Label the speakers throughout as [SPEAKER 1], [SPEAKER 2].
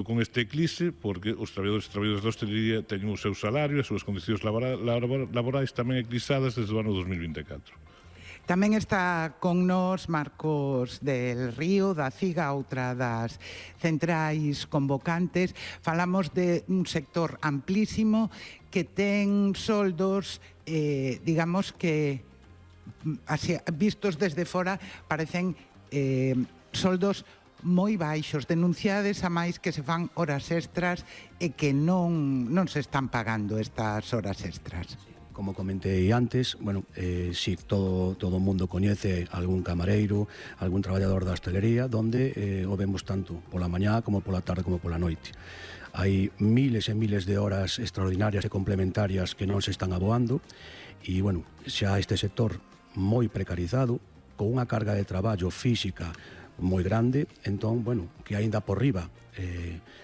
[SPEAKER 1] con este eclipse, porque os traballadores e traballadoras da hostelería teñen o seu salario e as súas condicións laborais tamén eclipsadas desde o ano 2024.
[SPEAKER 2] Tamén está con nós Marcos del Río, da CIGA, outra das centrais convocantes. Falamos de un sector amplísimo que ten soldos, digamos que, así, vistos desde fora, parecen soldos moi baixos, denunciades a máis que se fan horas extras e que non se están pagando estas horas extras.
[SPEAKER 3] Como comentei antes, bueno, si todo o mundo coñece algún camareiro, algún traballador da hostelería, donde o vemos tanto pola mañá como pola tarde como pola noite. Hai miles e miles de horas extraordinarias e complementarias que non se están aboando e, bueno, xa este sector moi precarizado, con unha carga de traballo física moi grande, entón, bueno, que aínda por riba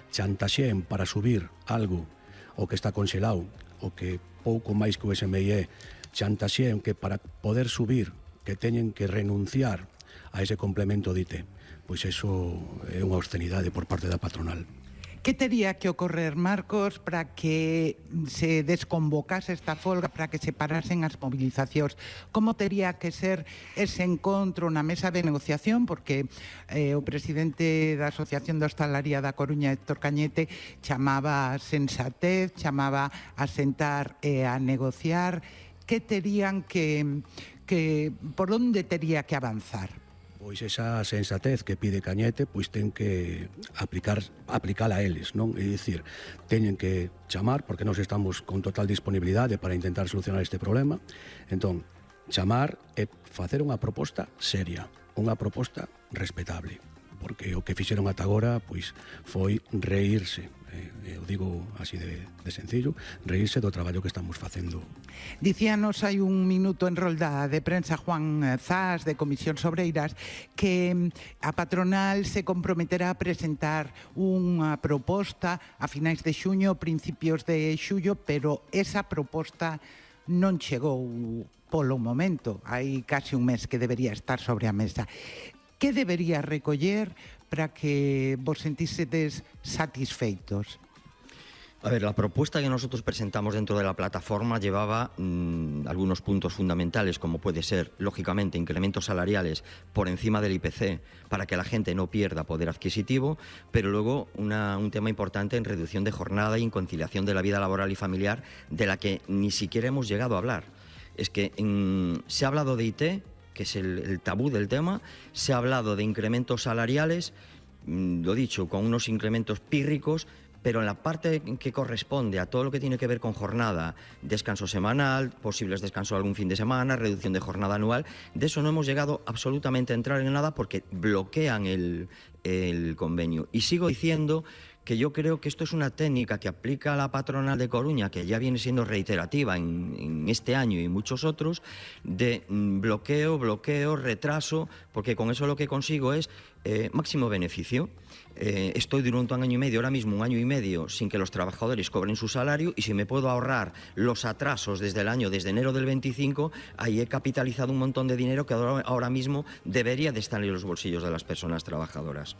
[SPEAKER 3] chantaxeen para subir algo o que está conxelado, o que pouco máis que o SMIE chantaxeen que para poder subir que teñen que renunciar a ese complemento de IT, pois eso é unha obscenidade por parte da patronal.
[SPEAKER 2] Que tería que ocorrer, Marcos, para que se desconvocase esta folga, para que se parasen as movilizacións? Como tería que ser ese encontro na mesa de negociación? Porque o presidente da Asociación de Hostalaría da Coruña, Héctor Cañete, chamaba a sensatez, chamaba a sentar e a negociar. Que terían que por onde tería que avanzar?
[SPEAKER 3] Pois esa sensatez que pide Cañete, pois ten que aplicala a eles, non? É dicir, teñen que chamar, porque nós estamos con total disponibilidade para intentar solucionar este problema, entón, chamar e facer unha proposta seria, unha proposta respetable, porque o que fixeron ata agora, pois, foi reírse, eu digo así de sencillo, reírse do traballo que estamos facendo.
[SPEAKER 2] Dicíanos hai un minuto en rolda de prensa Juan Zas, de Comisións Obreiras, que a patronal se comprometerá a presentar unha proposta a finais de xuño, principios de xullo, pero esa proposta non chegou polo momento. Hai casi un mes que debería estar sobre a mesa. Que debería recoller para que vos sentísedes satisfeitos?
[SPEAKER 4] A ver, la propuesta que nosotros presentamos dentro de la plataforma llevaba algunos puntos fundamentales, como puede ser, lógicamente, incrementos salariales por encima del IPC para que la gente no pierda poder adquisitivo, pero luego un tema importante en reducción de jornada y en conciliación de la vida laboral y familiar, de la que ni siquiera hemos llegado a hablar. Es que se ha hablado de IT, que es el tabú del tema, se ha hablado de incrementos salariales, lo dicho, con unos incrementos pírricos, pero en la parte que corresponde a todo lo que tiene que ver con jornada, descanso semanal, posibles descansos algún fin de semana, reducción de jornada anual, de eso no hemos llegado absolutamente a entrar en nada porque bloquean el convenio. Y sigo diciendo que yo creo que esto es una técnica que aplica la patronal de Coruña, que ya viene siendo reiterativa en este año y muchos otros, de bloqueo, retraso, porque con eso lo que consigo es máximo beneficio. Estoy durante un año y medio, ahora mismo un año y medio, sin que los trabajadores cobren su salario, y si me puedo ahorrar los atrasos desde enero del 25, ahí he capitalizado un montón de dinero que ahora mismo debería de estar en los bolsillos de las personas trabajadoras.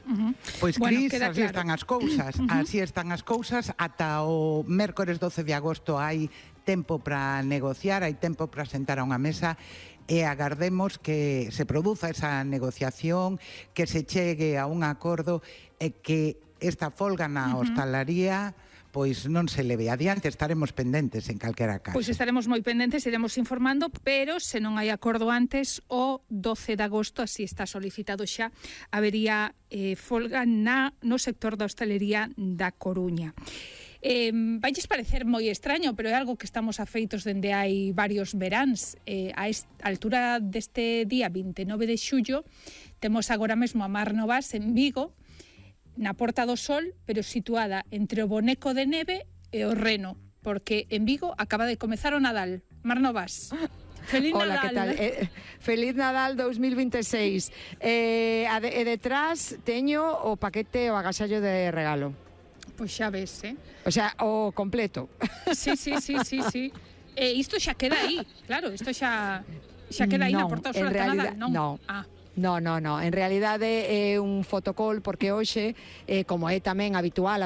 [SPEAKER 2] Pois, Cris, bueno, así están as cousas. Así están as cousas. Ata o mércores 12 de agosto hai tempo para negociar, hai tempo para sentar a unha mesa e agardemos que se produza esa negociación, que se chegue a un acordo e que esta folga na hostalaría pois non se leve adiante. Estaremos pendentes en calquera caso.
[SPEAKER 5] Pois estaremos moi pendentes, iremos informando, pero se non hai acordo antes, o 12 de agosto, así está solicitado xa, habería folga no sector da hostalería da Coruña. Vailles parecer moi extraño, pero é algo que estamos afeitos dende hai varios veráns. A altura deste día 29 de xullo temos agora mesmo a Mar Novas en Vigo, na Porta do Sol, pero situada entre o Boneco de Neve e o Reno, porque en Vigo acaba de comezar o Nadal. Mar Novas. Feliz
[SPEAKER 6] Hola,
[SPEAKER 5] Nadal.
[SPEAKER 6] que tal? Feliz Nadal 2026. E detrás teño o paquete, o agasallo de regalo.
[SPEAKER 5] Pois xa ves,
[SPEAKER 6] O sea, o completo.
[SPEAKER 5] Sí. Isto xa queda aí, claro, isto xa queda aí na Porta do Sol ata Nadal, non?
[SPEAKER 6] No, en realidade é un fotocall porque hoxe, como é tamén habitual a